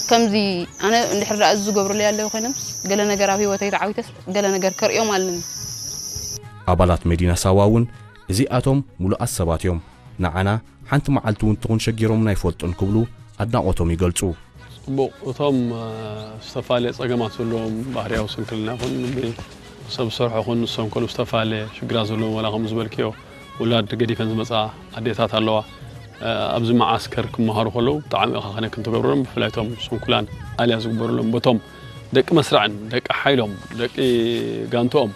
ከምዚ ኣነ እንድሕር ደኣ እዚ ዝገብሩለይ ኣለዉ ኮይኖምስ፣ ገለ ነገር ኣብ ህይወተይ ተዓዊተስ፣ ገለ ነገር ከርእዮም ኣለኒ። ኣባላት መዲና ሳዋ እውን እዚኣቶም ምሉኣት ሰባት እዮም። ንዓና ሓንቲ መዓልቲ እውን ትኹን ሸጊሮምና ኣይፈልጡን ክብሉ ኣድናቖቶም ይገልጹ። ጽቡቕ፣ እቶም ዝተፋለየ ጸገማት ዘለዎም፣ ባህርያዊ ስንክልና ይኹን ሰብ ዝሰርሖ ይኹን፣ ንሶም ከሉ ዝተፋለየ ሽግራት ዘለዎም፣ ዋላ ከም ዝበልክዮ ውላድ ገዲፈን ዝመጻ ኣዴታት ኣለዋ። ኣብዚ መዓስከር ክመሃሩ ከለዉ ብጣዕሚ ኢኻ ከነ ክንትገብሮም፣ ብፍላይ እቶም ስንኩላን ኣልያ ዝግበሩሎም፣ በቶም ደቂ መስርዕን ደቂ ሓይሎም ደቂ ጋንትኦም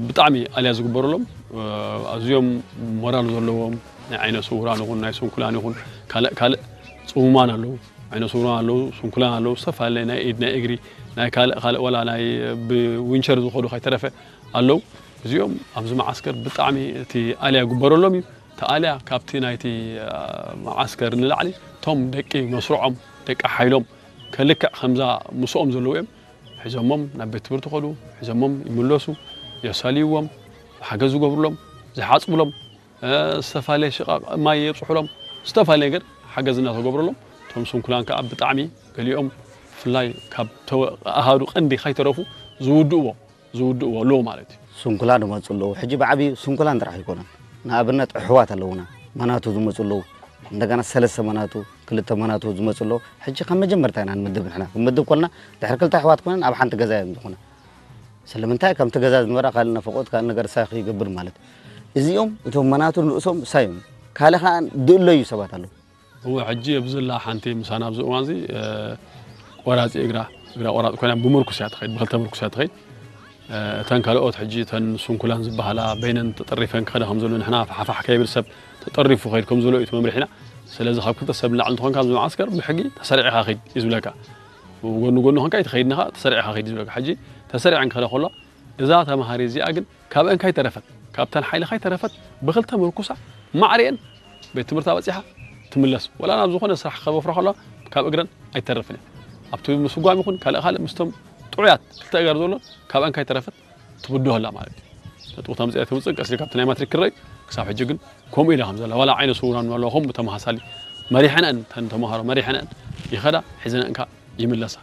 ብጣዕሚ ኣልያ ዝግበሩሎም፣ ኣዝዮም ሞራል ዘለዎም፣ ናይ ዓይነ ስውራን ይኹን ናይ ስንኩላን ይኹን ካልእ ካልእ ጽሙማን ኣለዉ። ዓይነ ስውራን ኣለዉ፣ ስንኩላን ኣለዉ፣ ዝተፈላለየ ናይ ኢድ ናይ እግሪ ናይ ካልእ ካልእ ዋላ ናይ ብዊንቸር ዝኸዱ ከይተረፈ ኣለዉ። እዚኦም ኣብዚ መዓስከር ብጣዕሚ እቲ ኣልያ ግበረሎም እዩ። እቲ ኣልያ ካብቲ ናይቲ መዓስከር ንላዕሊ እቶም ደቂ መስርዖም ደቂ ሓይሎም ከልክዕ ከምዛ ምስኦም ዘለዉ እዮም። ሒዞሞም ናብ ቤት ትምህርቲ ከዱ፣ ሒዞሞም ይምለሱ፣ የሳልይዎም፣ ሓገዝ ዝገብሩሎም፣ ዝሓፅብሎም፣ ዝተፈላለየ ሽቓቕ ማይ የብፅሑሎም፣ ዝተፈላለየ ነገር ሓገዝ እናተገብረሎም፣ እቶም ስንኩላን ከዓ ብጣዕሚ ገሊኦም ብፍላይ ካብ ኣሃዱ ቀንዲ ከይተረፉ ዝውድእዎ ዝውድእዎ ኣለዉ ማለት እዩ። ስንኩላን ይመፁ ኣለዉ። ሕጂ ብዓብዩ ስንኩላን ጥራሕ ኣይኮነን። ንኣብነት ኣሕዋት ኣለዉና፣ መናቱ ዝመፁ ኣለዉ። እንደገና ሰለስተ መናቱ፣ ክልተ መናቱ ዝመፁ ኣለዉ። ሕጂ ካብ መጀመርታ ኢና ንምድብ ንሕና። ክንምድብ ኮልና ድሕሪ ክልተ ኣሕዋት ኮነን ኣብ ሓንቲ ገዛ እዮም ዝኾነ። ስለምንታይ ከምቲ ገዛ ዝነበራ ካልእ ነፈቆት ካልእ ነገር ሳይ ይገብር ማለት። እዚኦም እቶም መናቱ ንርእሶም ሳይ እዮም። ካልእ ከዓ ድእለዩ ሰባት ኣለዉ። እወ፣ ሕጂ ኣብዚ ዘላ ሓንቲ ምሳና ኣብዚ እዋን እዚ ቆራፂ እግራ እግራ ቆራፂ ኮይና ብምርኩስ እያ ትኸይድ፣ ብክልተ ምርኩስ እያ ትኸይድ። እተን ካልኦት ሕጂ እተን ስንኩላን ዝበሃላ በይነን ተጠሪፈን ክኸዳ ከም ዘሎ ንሕና ፋሕፋሕ ከይብል ሰብ ተጠሪፉ ኸይድ ከም ዘሎ እዩ እቲ መምርሒና። ስለዚ ካብ ክልተ ሰብ ንላዕሊ እንተኾንካ ኣብዚ መዓስከር ብሕጊ ተሰሪዕኻ ኸይድ እዩ ዝብለካ። ጎኑ ጎኑ ኾንካ ኣይትኸይድን ኢኻ፣ ተሰሪዕኻ ኸይድ እዩ ዝብለካ። ሕጂ ተሰሪዐን ክኸዳ ከሎ እዛ ተምሃሪ እዚኣ ግን ካብአን ካይተረፈት ካብተን ሓይሊ ካይተረፈት ብክልተ ምርኩሳ ማዕሪአን ቤት ትምህርታ በፂሓ ትምለስ። ወላ ናብ ዝኾነ ስራሕ ከበፍራ ከለዋ ካብ እግረን ኣይተርፍን እያ። ኣብቲ ምስጓም ይኹን ካልእ ካልእ ምስቶም ጥዑያት ክልተ እገር ዘሎ ካብአን ካይተረፈት ትብድሆ ኣላ ማለት እዩ። ነጥቡ ተምፅኣ ትምፅእ ቀስ ኢልካ ኣብቲ ናይ ማትሪክ ክረዩ ክሳብ ሕጂ ግን ከምኡ ኢላ ከም ዘላ ዋላ ዓይነ ስውራን ኣለዋ ከምኡ ተመሳሳሊ መሪሐንአን ተን ተምሃሮ መሪሐንአን ይኸዳ ሒዘንአን ከኣ ይምለሳ።